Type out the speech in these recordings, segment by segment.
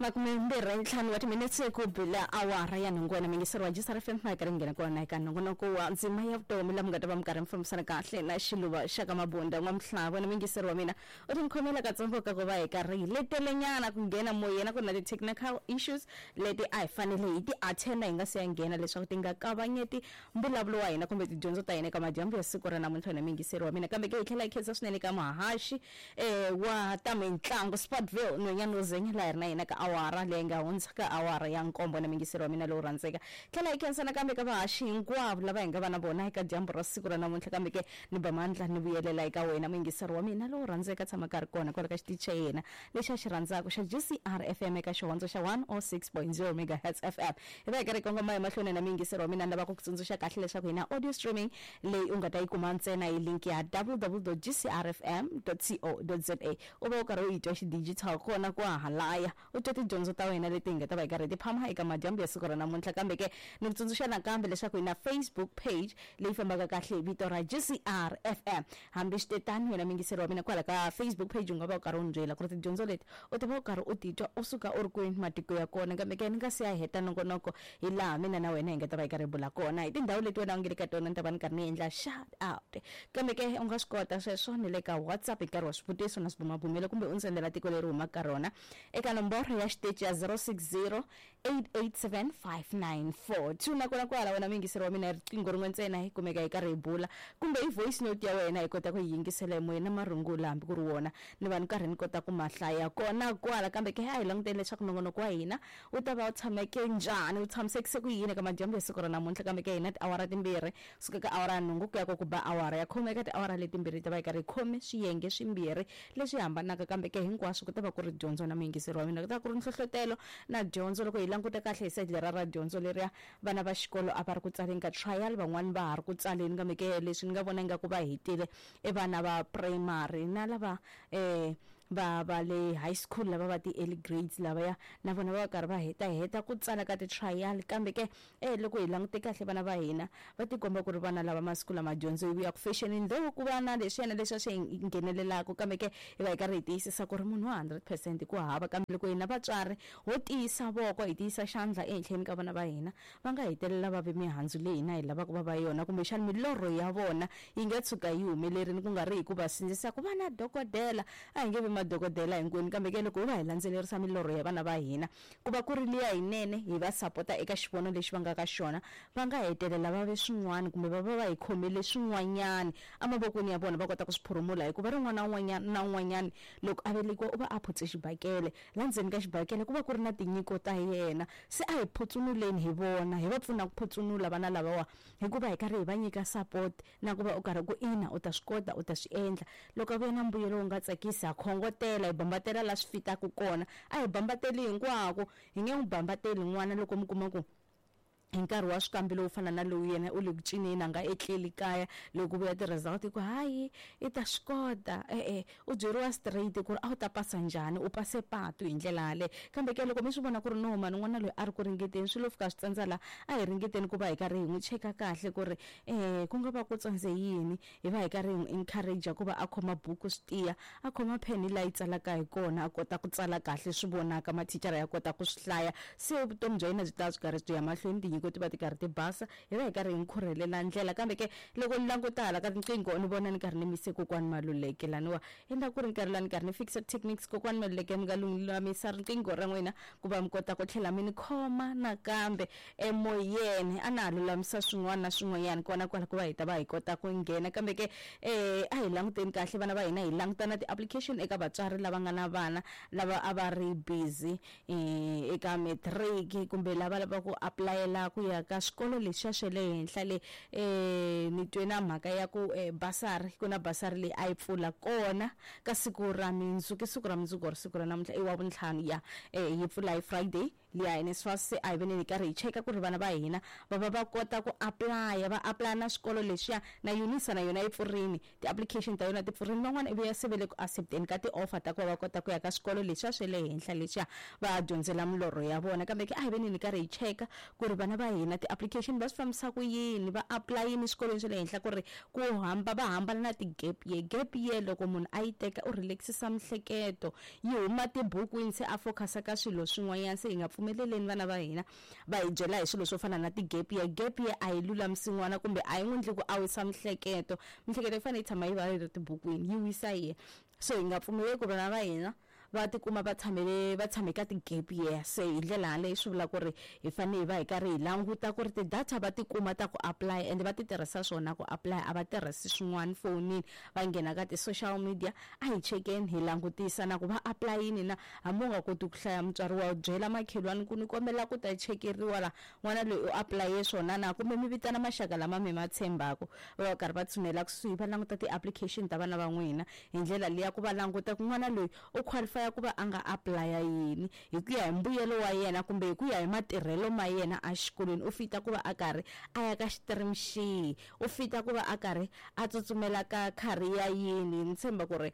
25 wa timinetse ku bila awara ya nhungu wena mingiseri wa GCR FM ma karhi nghena kona eka nongonoko wa ndzima ya vutomi la mi nga ta va mi karhi mi fambisana kahle na xiluva xa ka mabunda n'wamhlava. Wena mingiseri wa mina u ti khomela katsongo ka ku va hi karhi hi letelenyana ku nghena moyeni, ku ri na ti-technical issues leti a hi fanele hi ti attenda hi nga se ya nghena leswaku ti nga kavanyeti mbulavulo wa hina kumbe tidyondzo ta hina eka madyambu ya siku ra namuntlha. Wena mingiseri wa mina, kambe ke hi tlhela hi khensa swinene ka muhaxi wa ta mitlangu Sportville nhwenyana wo zenya laha hi ri na yena ka awara leyi nga hundza ka awara ya nkombo. Na mingiseri wa mina lowu rhandzeka, tlhela hi khensa nakambe ka vahaxi hinkwavo lava hi nga va na vona eka dyambu ra siku ra namuntlha. Kambe ke ni ba mandla ni vuyelela eka wena muyingiseri wa mina lowu rhandzeka, tshama ka ri kona kwala ka xitichi xa yena lexi a xi rhandzaka xa GCR FM eka xihondzo xa 106.0 megahertz FM. Hi va hi karhi hi kongoma emahlweni na muyingiseri wa mina, ni lava ku ku tsundzuxa kahle leswaku hi na audio streaming leyi u nga ta yi kuma ntsena hi link ya www.gcrfm.co.za. U va u karhi u yi twa xidigital kona kwahalaya, u twa tidyondzo ta wena leti hi nga ta va hi karhi hi ti phama eka madyambu ya siku ra namuntlha. Kambe ke ni ku tsundzuxa nakambe leswaku hi na Facebook page leyi fambaka kahle hi vito ra GCR FM. Hambi switetano, wena muyingiseri wa mina, kwala ka Facebook page u nga va u karhi u ni byela ku ri tidyondzo leti u ta va u karhi u titwa u suka u ri kwini matiko ya kona. Kambe ke ni nga si ya heta nongonoko hi laha mina na wena hi nga ta va hi karhi hi bula kona hi tindhawu leti wena u nge le ka tona, ni ta va ni karhi ni endla shout out. Kambe ke u nga swi kota sweswo ni le ka WhatsApp hi nkarhi wa swivutiso na swibumabumelo, kumbe u ndzi sendela tiko leri humaka ka rona eka nomboro ya xiteji ya 060 887 5942. Nakona kwala wena muyingiseri wa mina, hi riqingho rin'we ntsena hi kumeka hi karhi hi bula, kumbe hi voice note ya wena hi kota ku yi yingisela emoyeni na marungula hambi ku ri wona ni va ni karhi ni kota ku ma hlaya kona kwala. Kambe ke a hi languteni leswaku nongonoko wa hina wu ta va wu tshameke njhani, wu tshamisekise ku yini eka madyambu ya siku ra namuntlha. Kambe ke hina tiawara timbirhi suka ka awara ya nhungu ku ya ku ba awara ya khume, eka tiawara letimbirhi hi ta va hi karhi hi khome swiyenge swimbirhi leswi hambanaka, kambe ke hinkwaswo ku ta va ku ri dyondzo na muyingiseri wa mina, ku ta va ku ri nhlohlotelo na dyondzo. Loko hi languta kahle hi side lera ra dyondzo leriya, vana va xikolo a va ri ku tsaleni ka trial, van'wani va ha ri ku tsaleni, kambe ke leswi ni nga vona ingaku va hetile i vana va primary na lava va le high school, lava va ti-early grades lavaya na vona va va karhi va heta heta ku tsala ka ti-trial. Kambe ke loko hi langute kahle vana va hina va tikomba ku ri vana lava masiku lama dyondzo yi vuya ku fexenini, though ku va na leswiyana leswi a swi nghenelelaka, kambe ke hi va hi karhi hi tiyisisa ku ri munhu wa 100% ku hava. Kambe loko hina vatswari ho tiyisa voko, hi tiyisa xandla ehenhleni ka vana va hina, va nga hetelela va ve mihandzu leyi hina hi lavaka va va yona, kumbexana milorho ya vona yi nga tshuka yi humelerile, ku nga ri hi ku va sindzisa ku va na dokodela. A hi nge vi madokodela hinkwenu, kambe ke loko ho va hi landzelerisa milorho ya vana va hina ku va ku ri liya yinene, hi va sapota eka xivono lexi va nga ka xona, va nga hetelela va ve swin'wana, kumbe va va va hi khomele swin'wanyana emavokweni ya vona va kota ku swi phurumula. Hikuva rin'wana na un'wanyana na un'wanyana loko a velekiwa u va a phutse xibakele, la ndzeni ka xibakele ku va ku ri na tinyiko ta yena. Se a hi phutsunuleni hi vona, hi va pfuna ku phutsunula vana lavawa hikuva hi karhi hi va nyika support na ku va u karhi ku ina u ta swi kota, u ta swi endla. Loko a vuya na mbuyelo wu nga tsakisi, ha khongotela, hi bambatela la swi fitaka kona. A hi bambateli hinkwako, hi nge n'wi bambateli n'wana loko mi kuma ku hi nkarhi wa swikambelo wo fana na lowu yena u le ku cineni, a nga etleli kaya, loko ku vuya ti-result ku hayi i ta swi kota, e-e u byeriwa straight ku ri a wu ta pasa njhani, u pase patu hi ndlela yaleyo. Kambe ke loko mi swi vona ku ri no mani n'wana loyi a ri ku ringeteni, swi lo fika swi tsandza la, a hi ringeteni ku va hi karhi hi n'wi cheka kahle ku ri ku nga va ku tsandze yini, hi va hi karhi hi n'wi encourage ku va a khoma buku swi tiya, a khoma pheni laha yi tsalaka hi kona, a kota ku tsala kahle swi vonaka, mathicara ya kota ku swi hlaya, se vutomi bya yena byi ta byi karhi byi ya mahlweni, tinyiko ti va ti karhi ti basa, hi va hi karhi hi n'wi khurhelela ndlela. Kambe ke loko ni languta hala ka tinqingho ni vona ni karhi ni mise kokwani Maluleke laniwa, endla ku ri nkarhi laha ni karhi ni fikisa techniques. Kokwani Maluleke, mi nga lulamisa riqingho ra n'wina ku va mi kota ku tlhela mi ni khoma nakambe emoyeni. A na ha lulamisa swin'wana na swin'wanyana kona kwala ku va hi ta va hi kota ku nghena. Kambe ke a hi languteni kahle vana va hina, hi languta na ti-application eka vatswari lava nga na vana lava a va ri busy eka matric kumbe lava lavaka ku apulayela ku ya ka swikolo leswiya swa le henhla le. Ni twe na mhaka ya ku basari, ku na basari leyi a yi pfula kona ka siku ra mundzuku, i siku ra mundzuku or siku ra namuntlha i wa vuntlhanu ya yi pfula hi Friday. Liya NSFAS se a hi veneni karhi hi cheka ku ri vana va hina va va va kota ku apply, va apply na swikolo leswiya na UNISA na yona yi pfurini, ti-application ta yona ti pfurini. Van'wana ivi ya se ve le ku accepteni ka ti-offer ta ku va va kota ku ya ka swikolo leswiya swa le henhla leswiya va dyondzela milorho ya vona. Kambe ke a hi veneni karhi hi cheka ku ri vana va hina ti-application va swi fambisa ku yini, va apply-ini swikolweni swa le henhla ku ri ku hamba va hambana na ti-gap year. Gap year loko munhu a yi teka u relax-isa mihleketo, yi huma tibukwini se a focus-a ka swilo swin'wanyana. Se hi nga pfumeleleni vana va hina va hi byela hi swilo swo fana na ti-gap year. Gap year a yi lulamisi n'wana kumbe a yi n'wi endli ku a wisa mihleketo. Mihleketo yi fanele yi tshama yi va yi ri tibukwini, yi wisa yena. So hi nga pfumeleli ku vana va hina va tikuma va tshamele va tshame ka ti-gap year. Se hi ndlela yaleyo swi vula ku ri hi fanele hi va hi karhi hi languta ku ri ti-data va ti kuma ta ku apply ende va ti tirhisa swona ku apply, a va tirhisi swin'wana fonini va nghena ka ti-social media. A hi chekeni hi langutisa na ku va apply-ini na, hambi u nga koti ku hlaya mutswari wa byela makhelwani ku ni kombela ku ta chekeriwa la n'wana loyi u apply-e swona na, kumbe mi vitana maxaka lama mi ma tshembaka va va karhi va tshunela kusuhi va languta ti-application ta vana va n'wina hi ndlela liya ku va languta ku n'wana loyi u qualify ku va a nga apply-a yini hi ku ya hi mbuyelo wa yena kumbe hi ku ya hi matirhelo ma yena exikolweni. U fita ku va a karhi a ya ka xitirimi xihi, u fita ku va a karhi a tsutsumela ka career yini. Ni tshemba ku ri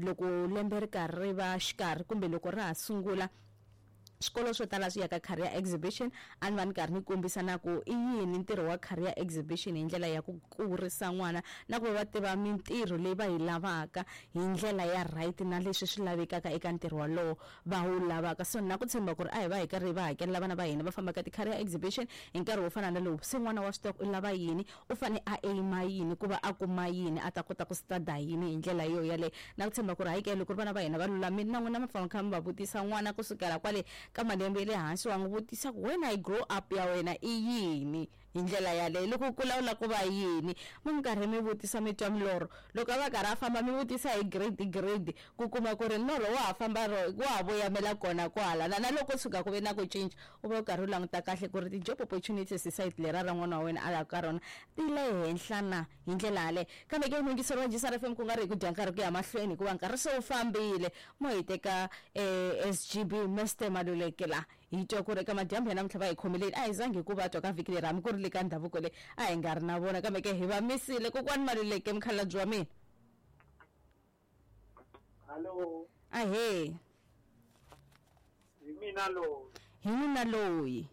loko lembe ri karhi ri va xikarhi kumbe loko ra ha sungula swikolo swo tala swi ya ka career exhibition, a ni va ni karhi ni kombisa na ku i yini ntirho wa career exhibition hi ndlela ya ku kurisa n'wana na ku va va tiva mintirho leyi va yi lavaka hi ndlela ya right na leswi swi lavekaka eka ntirho walowo va wu lavaka. So na ku tshemba ku ri a hi va hi karhi va hakelela vana va hina va famba ka ti-career exhibition hi nkarhi wo fana na lowu. Se n'wana wa swi tiva ku u lava yini, u fane a aim-a yini ku va a kuma yini, a ta kota ku study yini hi ndlela yo yaleyo. Na ku tshemba ku ri hayi ke loko ri vana va hina va lulamile na n'wina mi famba kha mi va vutisa n'wana kusukela kwale ka malembe ya le hansi, wa n'wi vutisa ku wena hi grow up ya wena i yini hi ndlela yaleyo, loko u kula u lava ku va yini. Mi mi karhi mi vutisa mi twa milorho, loko a va karhi a famba mi vutisa hi grade grade ku kuma ku ri norho wa ha famba ro wa ha voyamela kona kwahala, na loko tshuka ku ve na ku cinca u va u karhi u languta kahle ku ri ti-job opportunities hi sayiti lera ra n'wana wa wena a lava ka rona ti le henhla na hi ndlela yaleyo. Kambe ke muyingiseri wa JSR FM ku nga ri hi ku dya nkarhi ku ya mahlweni hikuva nkarhi se wu fambile, mo hi teka SGB Mr Maluleke la hi twa ku ri eka madyambu ya namuntlha va hi khomeleni. A hi zangi hi ku va twa ka vhiki leri hambi ku ri le ka ndhavuko leyi a hi nga ri na vona, kambe ke hi va misile. Kokwani Maluleke mukhalabye wa mina. Hallo. Ahee. Hi mina loyi. Hi mina loyi.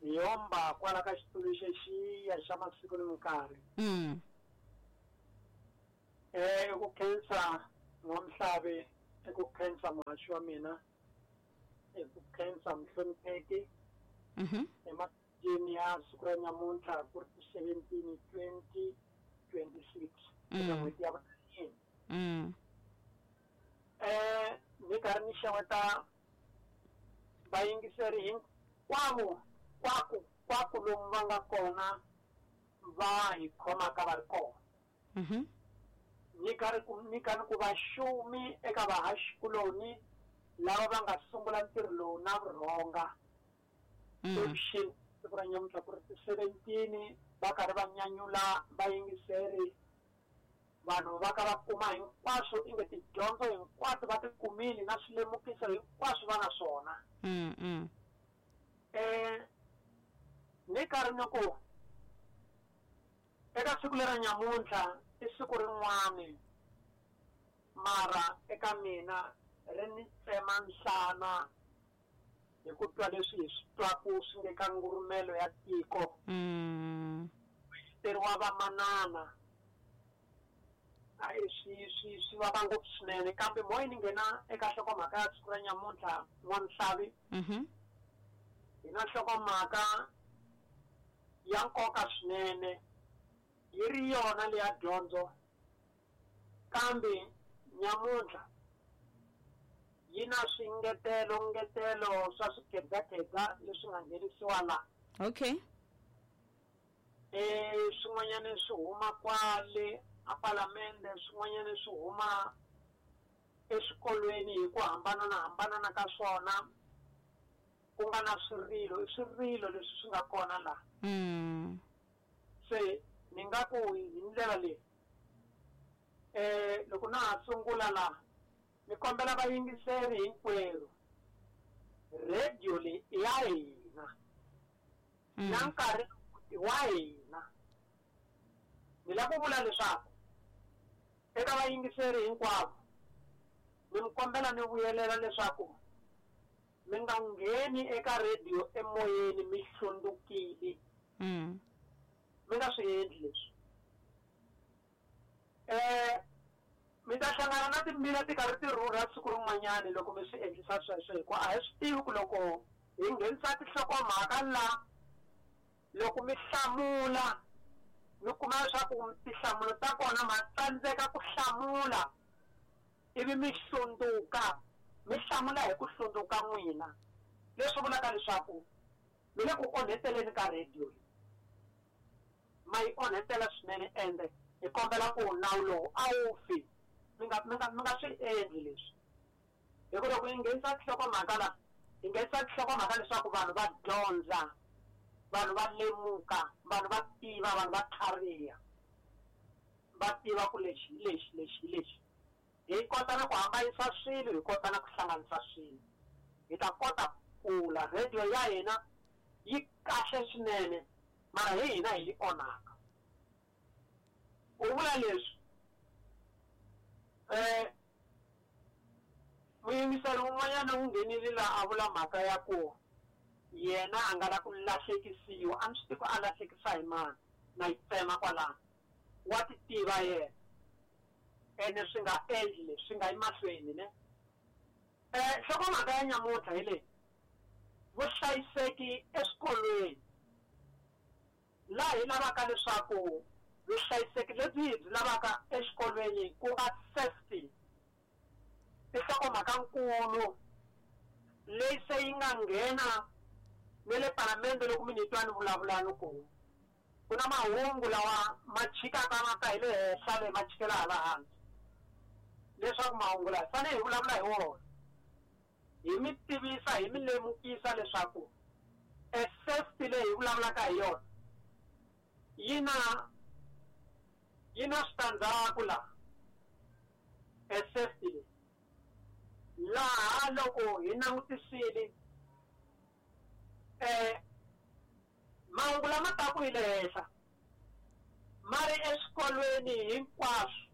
Hi yomba kwala ka xitulu xexiya xa masiku ni minkarhi. I ku khensa N'wamhlavi, i ku khensa muhaxi wa mina, i ku khensa muhlonipheki. Ematikweni ya siku ra nyamuntlha ku ri 17 2026 eka n'hweti ya vunharhu. Ni karhi ni xeweta vayingiseri hinkwavo kwaku kwaku lomu va nga kona va hi khomaka va ri kona. Ni karhi ku ni karhi ku va xumi eka vahaxikuloni lava va nga sungula ntirho lowu na vurhonga. Evuxeni siku ra nyamuntlha ku ri ti 17 va karhi va nyanyula vayingiseri, vanhu va ka va kuma hinkwaswo inge tidyondzo hinkwato va ti kumile na swilemukiso hinkwaswo va na swona. Ni karhi ni ku eka siku lera nyamuntlha i siku rin'wani mara eka mina ri ni tsema nhlana hi ku twa leswi hi swi twaku swi nge ka ngurumelo ya tiko. Teriwa vamanana a swi swi swi vava ngopfu swinene, kambe moya ni nghena eka nhlokomhaka ya siku ra nyamuntlha N'wamhlavi. Hi na nhlokomhaka ya nkoka swinene, yi ri yona leya dyondzo, kambe nyamuntlha yi na swingetelo ngetelo swa swikhedzakhedza leswi nga nghenisiwa la. Swin'wanyana swi huma kwale a palamende, swin'wanyana swi huma eswikolweni hi ku hambanana hambanana ka swona, ku nga na swirilo, i swirilo leswi swi nga kona la. Se ni nga ku hi ndlela leyi, loko na ha sungula la ni kombela vayingiseri hinkwerhu. Radio leyi i ya hina na nkarhi wa hina. Ni lava ku vula leswaku eka vayingiseri hinkwavo ni mi kombela ni vuyelela leswaku mi nga ngheni eka radio emoyeni mi hlundzukile. Mi nga swi endli leswi. Mi ta hlangana na timbila ti karhi ti rhurha siku rin'wanyani loko mi swi endlisa sweswo, hikuva a hi swi tivi ku loko hi nghenisa tinhlokomhaka la, loko mi hlamula mi kuma leswaku tinhlamulo ta kona ma tsandzeka ku hlamula, ivi mi hlundzuka, mi hlamula hi ku hlundzuka n'wina, leswi vulaka leswaku mi le ku onheteleni ka radio, ma yi onhetela swinene. Ende hi kombela ku nawu lowu a wu fi, mi nga swi endli leswi, hi ku loko hi nghenisa tinhlokomhaka la, hi nghenisa tinhlokomhaka leswaku vanhu va dyondza, vanhu va lemuka, vanhu va tiva, vanhu va tlhariha, va tiva ku lexi lexi lexi lexi. Hi kota na ku hambanyisa swilo, hi kota na ku hlanganisa swilo, hi ta kota ku kula. Radio ya hina yi kahle swinene, mara hi hina hi yi onhaka. U vula leswi muyingiseri un'wanyana u nghenile laha a vula mhaka ya ku yena a nga la ku lahlekisiwa, a ni swi tivi ku a lahlekisa hi mani, na yi tsema kwalano, wa ti tiva yena, ene swi nga endli leswi, swi nga yi mahlweni ne. Nhlokomhaka ya nyamuntlha hi leyi, vuhlayiseki eswikolweni, laha hi lavaka leswaku vuhlayiseki lebyi hi byi lavaka exikolweni ku nga safety, i nhlokomhakankulu leyi se yi nga nghena ne le palamende. Loko mi ni twa ni vulavula ni ku ku na mahungu lawa ma chikaka ma ta hi le henhla le ma chikela hala hansi, leswaku mahungu lawa hi fanele hi vulavula hi wona, hi mi tivisa, hi mi lemukisa leswaku e safety leyi hi vulavulaka hi yona yi na switandzhaku laha. E safety leyi laha loko hi langutisile mahungu lama taku hi le henhla ma ri eswikolweni hinkwaswo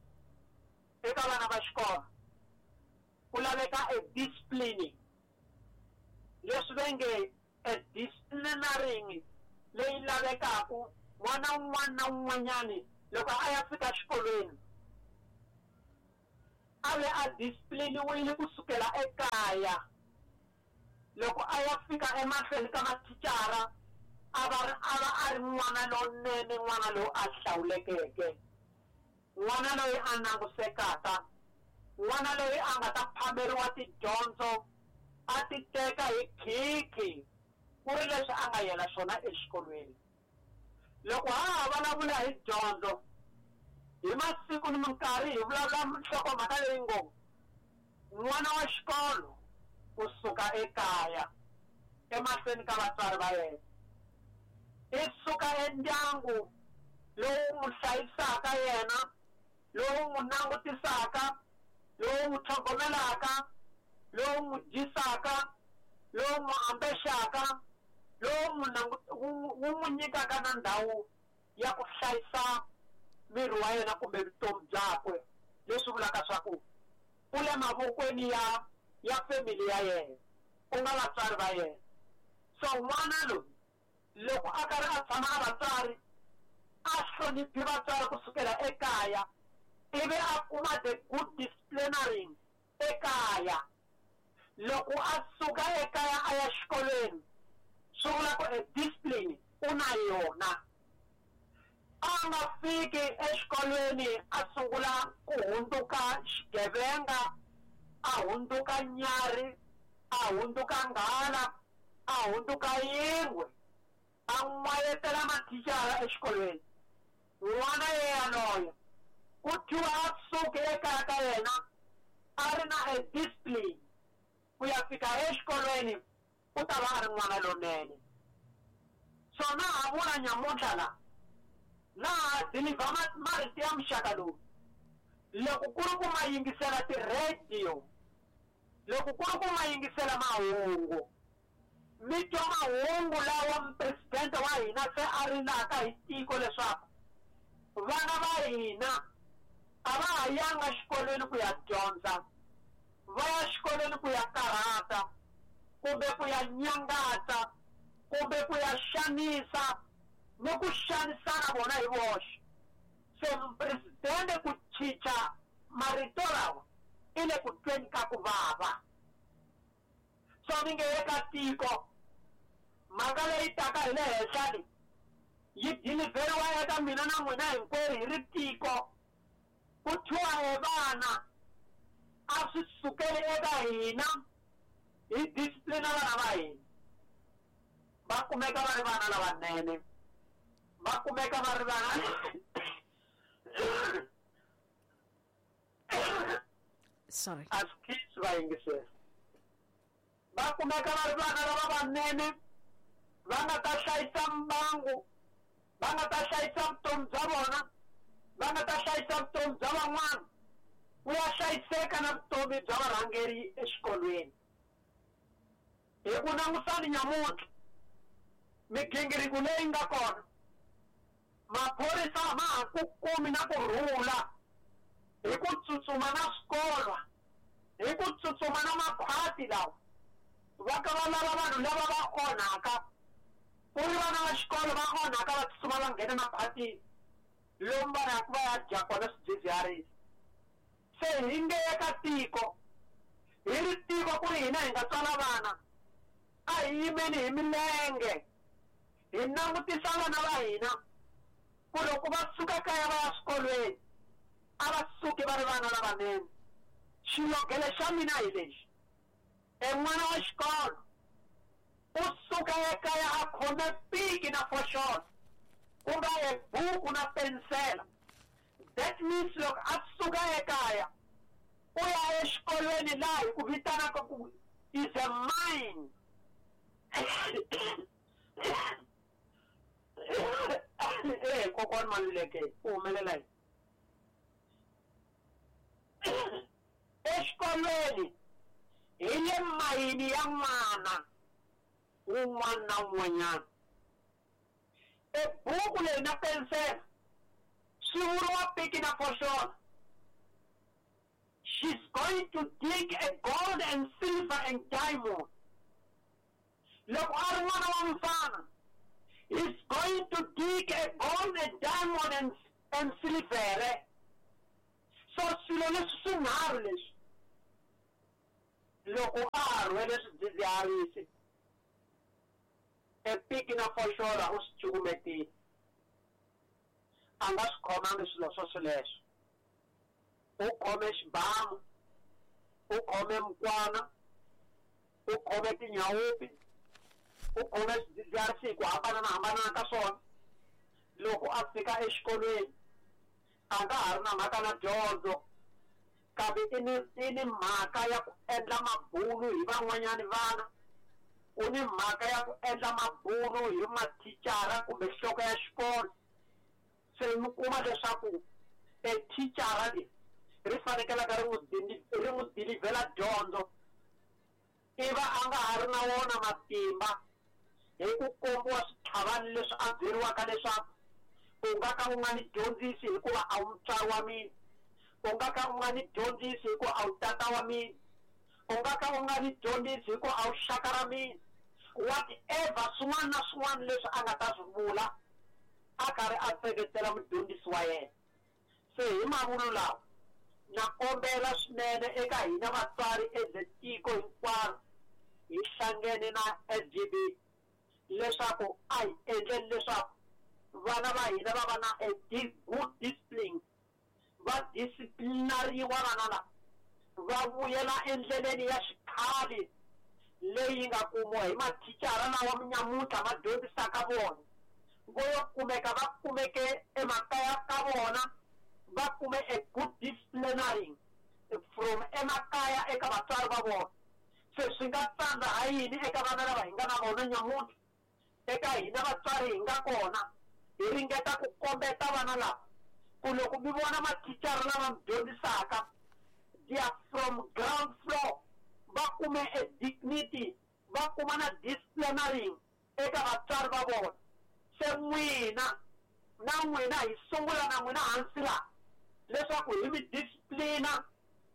eka vana va xikolo ku laveka e discipline, leswi va nge e disciplinaring leyi lavekaku n'wana un'wana na un'wanyani loko a ya fika xikolweni a ve a discipliniwile kusukela ekaya. Loko a ya fika emahlweni ka mathicara a va a ri n'wana lowunene, n'wana lowu a hlawulekeke, n'wana loyi a langusekaka, n'wana loyi a nga ta phameriwa tidyondzo a ti teka hi khikhi ku ri leswi a nga yela swona exikolweni. Loko ha ha vulavula hi dyondzo hi masiku ni minkarhi hi vulavula nhlokomhaka leyi ngo n'wana wa xikolo kusuka ekaya emahlweni ka vatswari va yena, i suka endyangu lowu n'wi hlayisaka yena, lowu n'wi langutisaka, lowu n'wi tlhogomelaka, lowu n'wi dyisaka, lowu n'wi ambexaka, lowu n'wi wu n'wi nyikaka na ndhawu ya ku hlayisa miri wa yena kumbe vutomi byakwe, leswi vulaka swa ku u le mavokweni ya family ya yena, ku nga vatswari va yena. So n'wana loyi loko a karhi a tshama na vatswari, a hloniphi vatswari kusukela ekaya, ivi a kuma the good disciplinaring ekaya. Loko a suka ekaya a ya xikolweni, swi vula ku e discipline u na yona. A nga fiki exikolweni a sungula ku hundzuka xigevenga, a hundzuka nyarhi, a hundzuka nghala, a hundzuka yingwe, a n'wayetela mathicara exikolweni. N'wana yeyaloye ku thyiwa a suke ekaya ka yena a ri na e discipline ku ya fika exikolweni, u ta va a ri n'wana lonene. So na ha vula nyamuntlha la, na ha deliver marito ya muxaka lowu, loko ku ri ku ma yingisela ti-radio, loko ku ri ku ma yingisela mahungu, Mi twa mahungu lawa mupresidente wa hina se a rilaka hi tiko leswaku vana va hina a va ha yanga xikolweni ku ya dyondza, va ya xikolweni ku ya karhata kumbe ku ya nyangatsa kumbe ku ya xanisa ni ku xanisana vona hi voxe. Se mupresidente ku chicha marito lawa i le ku tweni ka ku vava. So ni nge eka tiko mhaka leyi taka hi le henhla leyi yi dilivheriwa eka mina na n'wina hinkwerhu hi ri tiko. Ku thyiwa e vana a swi sukeli eka hina, hi disciplina vana va hina, va kumeka va ri vana lavanene, va kumeka va ri vana sorry a swi khishi va yingisela, va kumeka va ri vana lava vanene, va nga ta hlayisa mbangu, va nga ta hlayisa vutomi bya vona, va nga ta hlayisa vutomi bya van'wana, ku ya hlayiseka na vutomi bya varhangeri exikolweni. Hi ku langusani nyamuntlha migingiriko leyi nga kona, maphorisa ma ha ku kumi na ku rhula hi ku tsutsuma na swikolo, hi ku tsutsuma na makhwati lawa va ka va lava vanhu lava va onhaka, ku ri vana va xikolo va onhaka va tsutsuma va nghena makhwatini lomu va yaka va ya dya kona swidzidziharisi. Se hi nge eka tiko, hi ri tiko ku ri hina hi nga tswala vana, a hi yimeni hi milenge hi langutisa vana va hina ku loko va suka kaya va ya swikolweni a va suki va ri vana lavanene. Xilogele xa mina hi lexi, e n'wana wa xikolo u suka ekaya a khome piki na foxolo, ku nga e buku na pensela. That means loko a suka ekaya u ya exikolweni laha hi ku vitanaka ku is a mine. Kokwani Maluleke u humelela yini? Exikolweni hi le mayini ya n'wana wun'wana na wun'wanyana. E buku leyi na pensela swi vuriwa piki na foxolo. She's going to dig a gold and silver and diamond. Loko a ri n'wana wa mufana, he's going to dig a gold and diamond and silver. So swilo leswi swinharhu leswi loko a ha rhwele swidzidziharisi, e piki na foxolo u swi cukumetile, a nga swi khomangi swilo swo swoleswo. U khome xibamu, u khome mukwana, u khome tinyawupi, u khome swidzidziharisi hi ku hambanahambana ka swona. Loko a fika exikolweni a nga ha ri na mhaka na dyondzo, kambe i ni mhaka ya ku endla mabulu hi van'wanyani vana, u ni mhaka ya ku endla mabulu hi mathicara kumbe nhloko ya xikolo. Se mi kuma leswaku e thicara leyi ri fanekelaka ri n'wi dilivhela dyondzo, i va a nga ha ri na wona matimba hi ku kombiwa switlhavani leswi a byeriwaka leswaku u nga ka u nga ni dyondzisi hikuva a wu mutswari wa mina, u nga ka u nga ni dyondzisi hikuva a wu tata wa mina, u nga ka u nga ni dyondzisi hikuva a wu xaka ra mina. Whatever swin'wana na swin'wana leswi a nga ta swi vula a karhi a seketela mudyondzisi wa yena. Se hi mavulu lawa na kombela swinene eka hina vatswari as tiko hinkwaro hi hlangene na SGB leswaku a hi endleni leswaku vana va hina va va na a good discipline, va disciplinariwa vana lava, va vuyela endleleni ya xikhale leyi nga kumiwa hi mathicara lawa nyamuntlha ma dyondzisaka vona. Vo yo kumeka va kumeke emakaya ka vona, va kume a good disciplinary from emakaya eka vatswari va vona. Se swi nga tsandza ha yini eka vana lava hi nga na vona nyamuntlha? Eka hina vatswari hi nga kona hi ringeta ku kombeta vana lava ku loko mi vona mathicara lava mi dyondzisaka, they are from ground floor, va kume a dignity, va kuma na discipline. biha na rin'we eka vatswari va vona. Se n'wina na n'wina hi sungula na n'wina hansi laha leswaku hi mi disciplina,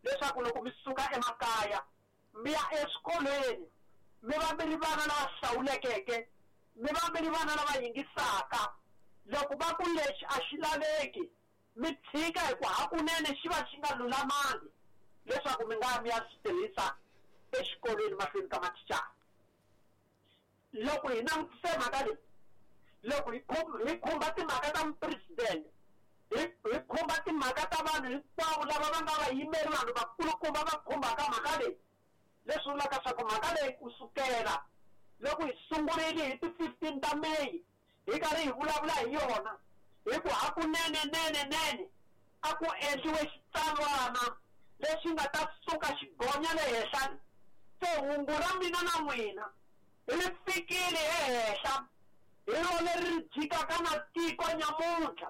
leswaku loko mi suka emakaya mi ya eswikolweni mi va mi ri vana lava hlawulekeke, mi va mi ri vana lava yingisaka. Loko va ku lexi a xi laveki, mi tshika hi ku hakunene xi va xi nga lulamangi leswaku mi nga mi ya swi tirhisa exikolweni mahlweni ka mathicara. Loko hi langutise mhaka leyi, loko hi khumba timhaka ta mupresidente, hi khumba timhaka ta vanhu hinkwavo lava va nga vayimeri, vanhu vakulukumba va khumbaka mhaka leyi, leswi vulaka swa ku mhaka leyi kusukela loko hi sungurile hi ti 15 ta May hi karhi hi vulavula hi yona, hi ku hakunene nene nene a ku endliwe xitsalwana lexi nga ta suka xigonya le henhla. Se hungu ra mina na n'wina ri fikile ehenhla, hi ro leri ri jikaka na tiko nyamuntlha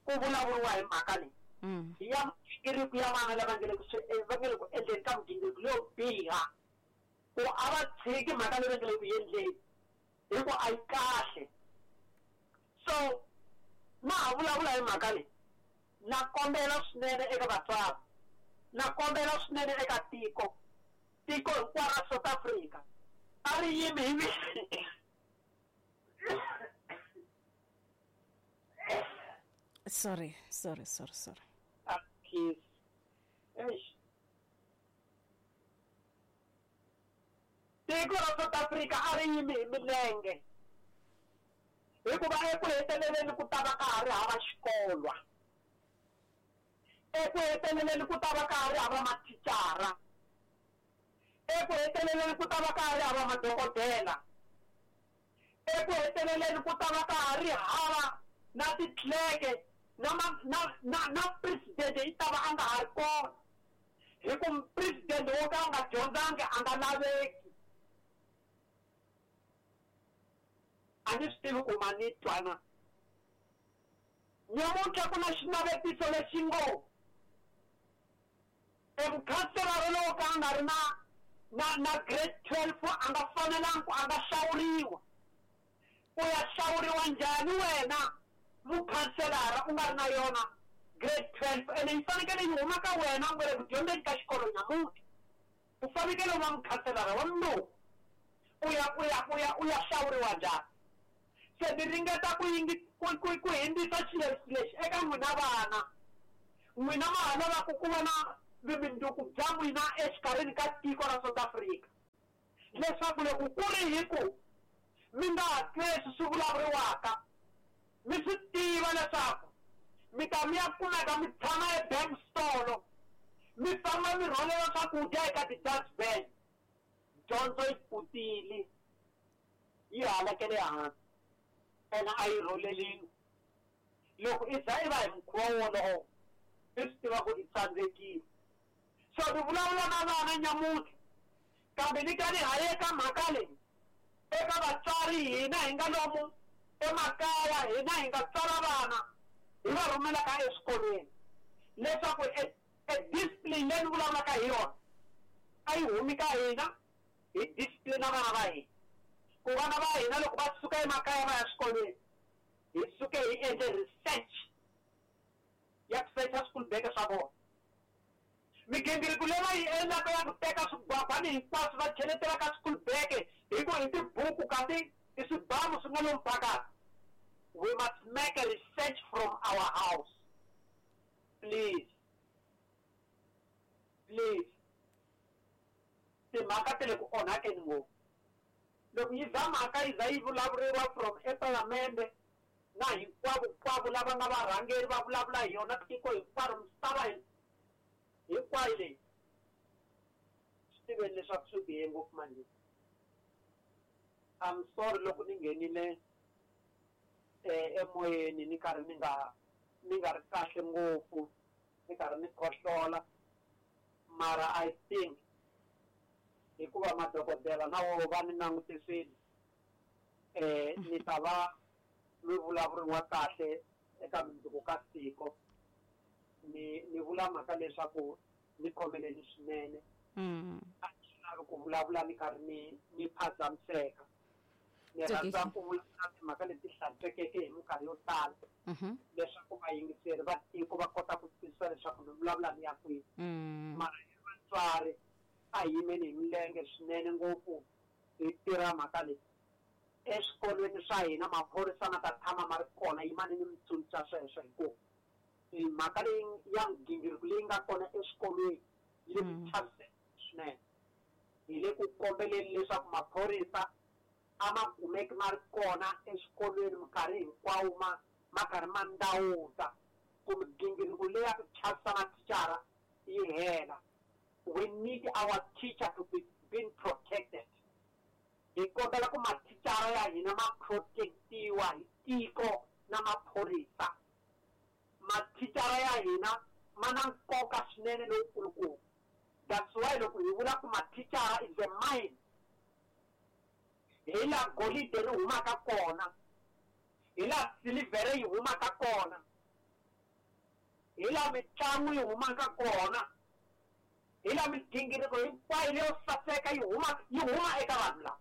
ku vulavuriwa hi mhaka leyi ya migingiriko ya vana lava nga le ku endleni ka migingiriko leyo biha, ku a va tshiki mhaka leyi va nga le ku endleni hi ku a yi kahle. So na ha vulavula hi mhaka leyi, na kombela swinene eka vatswari, na kombela swinene eka tiko, tiko hinkwaro ra South Africa a ri yimi hi Sorry. Tiko ra South Africa a ri yimi hi milenge, hikuva eku heteleleni ku ta va ka ha ri hava xikolwa, eku heteleleni ku ta va ka ha ri hava mathicara, eku heteleleni ku ta va ka ha ri hava madokodela, eku heteleleni ku ta va ka ha ri hava na titleke, na president yi ta va a nga ha ri kona, hi ku president wo ka a nga dyondzangi a nga laveki. A ni swi tivi ku ma ni twana. Nyamuntlha ku na xinavetiso lexi ngo emukhanselara lowo ka a nga ri na grade 12 a nga fanelangi ku a nga hlawuriwa. U ya hlawuriwa njhani wena mukhanselara u nga ri na yona grade 12? Ene yi fanekele yi huma ka wena u nga le ku dyondzeni ka xikolo nyamuntlha. U fanekele u va mukhanselara wa mundzuku. U ya hlawuriwa njhani? Se ni ringeta ku hindzisa xilo lexi eka n'wina vana. N'wina ma ha lavaka ku va na vumundzuku bya n'wina exikarhini ka tiko ra South Africa, leswaku loko ku ri hi ku mi nga ha twi leswi swi vulavuriwaka, mi swi tiva leswaku mi ta mi ya kumeka mi tshama ebank stolo, mi famba mi rhwalela swakudya eka ti-dustbin. Dyondzo yi pfutile, yi halakele hansi, ene a yi rholeliwi. Loko i za i va hi mukhuva wolowo, i swi tiva ku i tsandzekile. So ni vulavula na vana nyamuntlha, kambe ni ka ni ha ye ka mhaka leyi eka vatswari hina hi nga lomu emakaya, hina hi nga tswala vana hi va rhumelaka eswikolweni, leswaku e discipline leyi ni vulavulaka hi yona a yi humi ka hina, hi discipline vana va hina. Ku vana va hina loko va suka emakaya va ya swikolweni, hi suke hi endle research ya ku secha school bag swa vona. Migingiriko leyi va yi endlaka ya ku teka swigwagwani hinkwaswo va cheletela ka school bag hi ku hi tibuku kasi i swibamu swi nga lomu phakathi. We must make a research from our house. Please. Please. Timhaka ti le ku onhakeni ngopfu. Loko yi za mhaka yi za yi vulavuriwa from epalamende na hinkwavo lava nga varhangeri va vulavula hi yona tiko hinkwaro, misava hinkwayo leyi, swi tiveni leswaku swi bihe ngopfu manje. I'm sorry loko ni nghenile emoyeni ni karhi ni nga ri kahle ngopfu, ni karhi ni khohlola, mara I think hikuva madokodela na wo va ni langutisile, ni ta va mi vulavuriwa kahle eka mundzuku ka tiko. Ni vula mhaka leswaku ni khomeleni swinene. A ni lavi ku vulavula ni karhi ni phazamiseka. Ni rhandza ku vulavula timhaka leti hlantswekeke hi minkarhi yo tala leswaku vayingiseri va tiko va kota ku twisisa leswaku ni vulavula ni ya kwihi. Mara hi vatswari a hi yimeni hi milenge swinene ngopfu hi tirha mhaka leyi. Eswikolweni swa hina maphorisa ma ta tshama ma ri kona, yimani ni mi tsundzuxa sweswo, hi ku mhaka leyi ya migingiriko leyi nga kona eswikolweni yi le ku chaviseni swinene. Hi le ku kombeleni leswaku maphorisa a ma kumeki ma ri kona eswikolweni minkarhi hinkwawo, ma karhi ma ndawuta ku migingiriko leyi ya ku chavisa mathicara yi hela. We need our teacher to be being protected. Hi kombela ku mathicara ya hina ma protectiwa hi tiko na maphorisa. Mathicara ya hina ma na nkoka swinene lowukulukumba. That's why loko hi vula ku mathicara is a mine, hi laha golide ri humaka kona, hi laha silivhere yi humaka kona, hi laha mitlangu yi humaka kona, hi laha migingiriko hinkwayo leyo saseka yi huma eka vanhu lava.